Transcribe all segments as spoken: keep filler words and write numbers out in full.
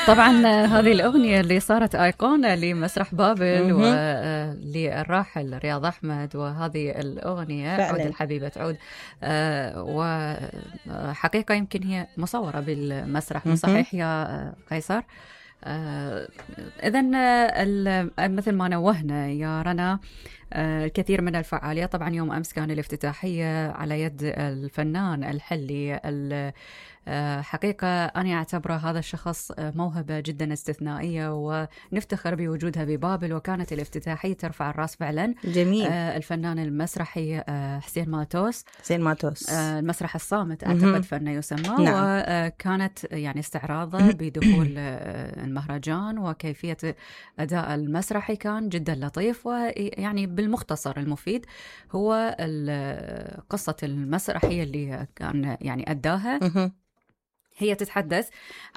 طبعا هذه الأغنية اللي صارت أيقونة لمسرح بابل وللراحل رياض أحمد، وهذه الأغنية فعلا. عود الحبيبة عود، وحقيقة يمكن هي مصورة بالمسرح، صحيح يا قيصر؟ إذن مثل ما نوهنا يا رنا الكثير من الفعاليات. طبعا يوم أمس كان الافتتاحية على يد الفنان الحلي. حقيقة أنا أعتبره هذا الشخص موهبة جدا استثنائية، ونفتخر بوجودها ببابل، وكانت الافتتاحية ترفع الرأس فعلا. جميل. الفنان المسرحي حسين ماتوس حسين ماتوس المسرح الصامت أعتقد فنه يسمى. نعم. وكانت يعني استعراضه بدخول المهرجان وكيفية أداء المسرحي كان جدا لطيف، ويعني بالمختصر المفيد هو قصة المسرحية اللي كان يعني أداها. هي تتحدث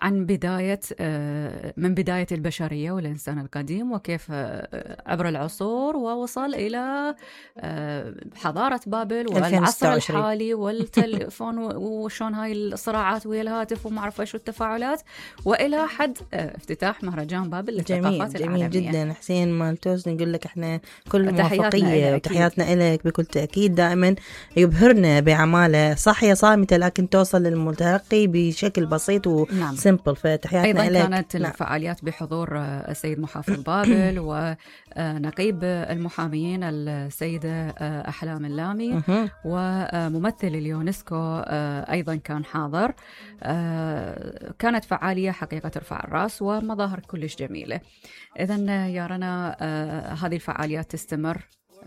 عن بداية من بداية البشرية والإنسان القديم، وكيف عبر العصور ووصل إلى حضارة بابل والعصر الحالي والتليفون وشون هاي الصراعات ويا الهاتف وما أعرف إيش والتفاعلات، وإلى حد افتتاح مهرجان بابل للثقافات العالمية. جميل جدا حسين مالتوس، نقول لك إحنا كل موفقية وتحياتنا لك بكل تأكيد. دائما يبهرنا بعماله، صحية صامتة لكن توصل للمتلقي بشكل بسيط وسيمبل. فتحياتنا أيضا لك. كانت نعم. الفعاليات بحضور السيد محافظ بابل ونقيب المحاميين السيدة أحلام اللامي، وممثل اليونسكو أيضا كان حاضر. كانت فعالية حقيقة ترفع الرأس ومظاهر كلش جميلة. إذن يا رنا هذه الفعاليات تستمر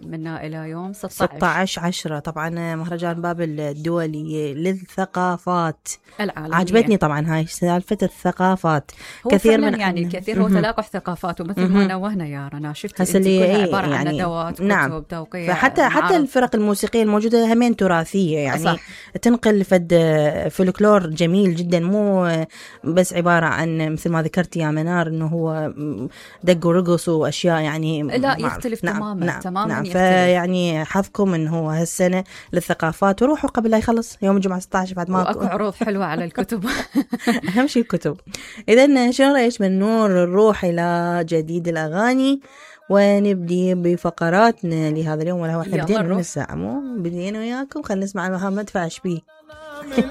منا إلى يوم ستة عشر عشرة. طبعا مهرجان بابل الدولي للثقافات العالمية. عجبتني طبعا هاي سالفة الثقافات، كثير من يعني كثير هو تلاقح ثقافات، ومثل ما نوهنا يا رنا شفت انت كلها عبارة يعني عن ندوات كتب نعم. توقيع. فحتى حتى الفرق الموسيقية الموجودة همين تراثية، يعني صح. تنقل فد فولكلور جميل جدا، مو بس عبارة عن مثل ما ذكرت يا منار انه هو دق ورقص واشياء، يعني لا يختلف نعم. تماما نعم. تماما نعم. فيعني حظكم انه هو هالسنة للثقافات، وروحوا قبل لا يخلص يوم الجمعة ستة عشر بعد ما واكو عروض حلوة على الكتب. اهم شيء الكتب. اذا شو رايك من نور نروح الى جديد الاغاني ونبدي بفقراتنا لهذا اليوم؟ ولا هو احنا بدينا من الساعة، مو بدينا وياكم. خلينا نسمع محمد فاش بيه.